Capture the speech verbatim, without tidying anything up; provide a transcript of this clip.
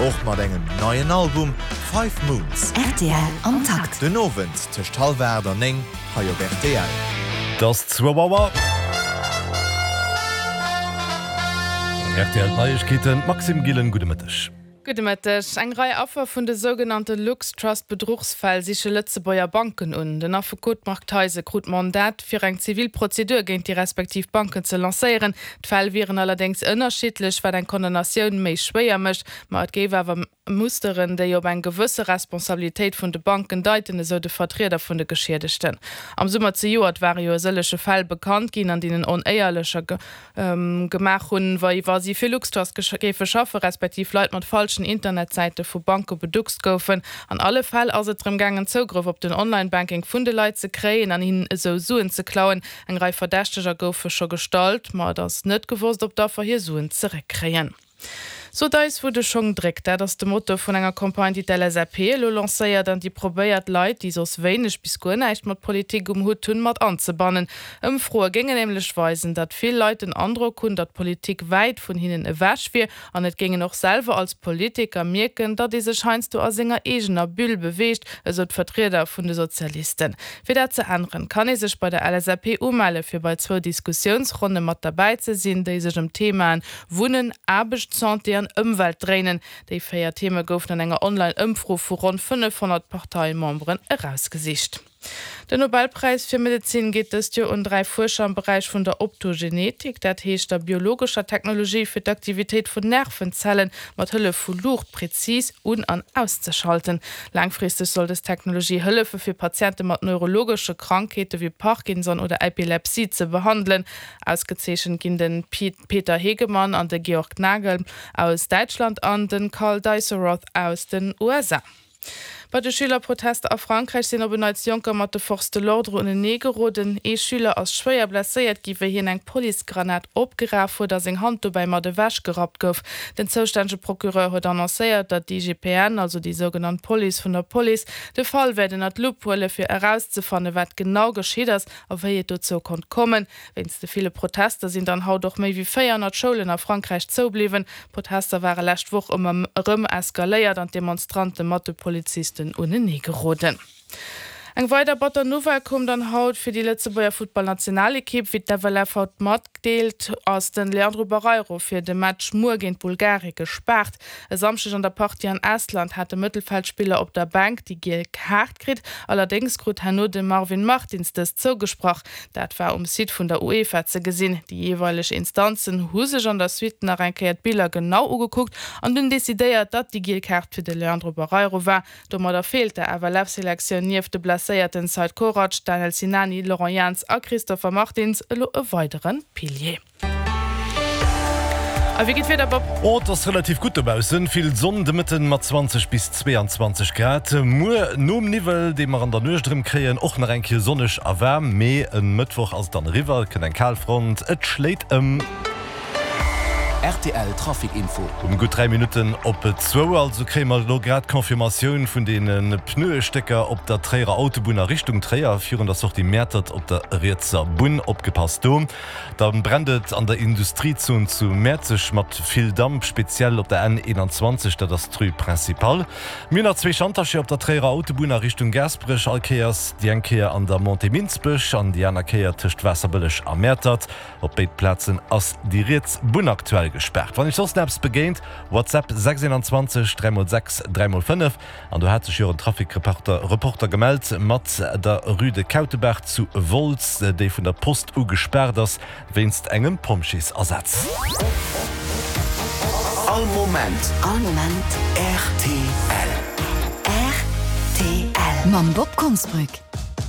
Och mat engem neien Album, Five Moons. Rtl am Takt. Den Owend tëscht hallwer aacht an néng hei op rtl. Et ass zwou Auer. Rtl Neiegkeeten, Maxime Gillen, gudde Mëtteg. Gudde Mëtteg. Eng Rei Affer vun de sougenannte LuxTrust-Bedruchsfäll siche Lëtzebuerger Banken un. Den Affekot Marc Theise krut d'Mandat, fir eng zivil Prozedur géint déi respektiv Banken ze lancéieren. D'Fäll wieren allerdéngs ënnerschiddlech, wat eng Condamnatioun méi schwéier mécht. Ma et géif awer Musteren, déi op eng gewësse Responsabilitéit vun de Banken deiten, esou de Vertrieder vun de Geschiedegten. Am Summer zejoert ware jo e sëllege Fäll bekannt ginn, an deenen Onéierlecher gemaach hunn, wéi wa si fir LuxTrust géife schaffen, respektiv Leit mat falschen Internetsäite vu Banke beduckst goufen. An alle Fäll ass et drëm gaangen, Zougrëff op den Online-Banking vun de Leit ze kréien an hinnen esou Suen ze klauen. Eng Rei Verdächteger goufe scho gestallt, ma et ass net gewosst, ob d'Affer hir Suen zeréckkréien. Sot eis wou de Schong dréckt, dat ass de Motto vun enger Campagne déi d'LSAP elo lancéiert an déi probéiert Leit, déi soss wéineg bis guer näischt mat Politik um Hutt hunn, mat anzebannen. Ëmfroe géingen nämlech weisen, datt vill Leit den Androck hunn, datt d'Politik wäit vun hinnen ewech wier an et géingen och selwer als Politiker mierken, datt ee sech heiansdo a senger eegener Bulle beweegt, esou d'Vertrieder vun de Sozialisten. Fir dat ze änneren, kann ee sech bei der LSAP umelle fir bei zwou Diskussiounsronne mat derbäi ze sinn, déi sech ëm d'Themaen Wunnen, Aarbecht, Santé an Ëmwelt dréinen. Déi véier Theme goufen an enger Online-Ëmfro vu ronn fënnefhonnert Parteimemberen erausgesicht. Den Nobelpräis fir Medezin geet dëst Joer un dräi Fuerscher am Beräich vun der Optogenetik, dat heescht der biologescher Technologie fir d'Aktivitéit vun Nervenzelle mat Hëllef vu Luucht prezis un an auszeschalten. Laangfristeg soll dës Technologie hëllefe fir Patiente mat neurologesche Krankheete wéi Parkinson oder Epilepsie ze behandelen. Ausgezeechent ginn de Peter Hegemann an de Georg Nagel aus Däitschland an de Karl Deisseroth aus den U S A. Bei de Schülerprotester a Frankräich sinn op en Neits Jonker mat de Forces de l'ordre unenee geroden. Ee Schüler ass schwéier blesséiert gi wéi hien eng Policegranat opgeraf huet a seng Hand dobäi mat ewech gerappt gouf. Den zoustännege Procureur huet annoncéiert, datt d'I G P N, also déi sougenannt Police vun der Police, de Fall wäert ënner d'Lupp huele fir erauszefanne wat genau geschitt ass a wéi et dozou konnt kommen. Wéinst de ville Protester sinn dann haut och méi wéi véierhonnert Schoulen a Frankräich zoubliwwen. D'Protester ware lescht Woch ëmmer erëm eskaléiert an d'Demonstrante mat de Polizisten unenee geroden. Eng weider batter Nouvelle koum dann haut fir déi Lëtzebuerger Futtballnationalekipp. Wéi d'F L F haut matdeelt, ass den Leandro Barreiro fir de Match muer géint Bulgarie gespaart. E Samschdeg an der Partie an Estland hat de Mëttelfeldspiller op der Bänk déi giel Kaart kritt. Allerdéngs krut herno de Marvin Martins dës zougesprach. Dat war um Site vun der UEFA ze gesinn. Déi jeeweileg Instanzen hu sech an der Suite nach eng Kéier d'Biller genau ugekuckt an dunn decidéiert, datt déi giel Kaart fir de Leandro Barreiro war. Domadder feelt der F L F-Selektioun nieft de blesséierten Seid Korac, Daniel Sinani, Laurent Jans a Christopher Martins elo e weideren Pilier. A wéi geet d'Wieder, Bob? Oh, et ass relativ gutt dobaussen. Vill Sonn de Mëtten mat zwanzeg bis zweeanzwanzeg Grad. Muer nom Niwwel, dee mer an der Nuecht erëm kréien, och nach eng Kéier sonneg a waarm. Mee e Mëttwoch ass et dann eriwwer, et kënnt eng Kalfront, et schléit ëm. R T L Trafic Info. Um gutt dräi Minutten op zwou, also kréie mer elo grad d'Confirmatioun vun deene Pneuestécker op der Tréierer Autobunn a Richtung Tréier virun der Sortie Mäertert op der rietser Bunn. Opgepasst do. Da brennt et an der Industriezon zu Mäerzeg mat vill Damp, speziell op der N eenanzwanzeg, dat ass d'Rue Principale. Mir hunn nach zwee Chantercher op der Tréierer Autobunn a Richtung Gaasperech, all Kéiers déi eng Kéier an der Montée Minsbech an déi aner Kéier tëscht Waasserbëlleg a Mäertert. Op béid Plazen ass déi riets Bunn aktuell gespaart. Wann iech soss eppes begéint, WhatsApp sechs eenanzwanzeg dräi mol sechs dräi mol fënnef. An do hat sech jo en Trafikreporter Reporter gemellt mat der Rue de Kautebaach zu Wolz, déi vun der Post u gespaart ass wéinst engem Pompjeesersatz. All Moment. All Moment. R T L. R T L. Mam Bob Konsbrück.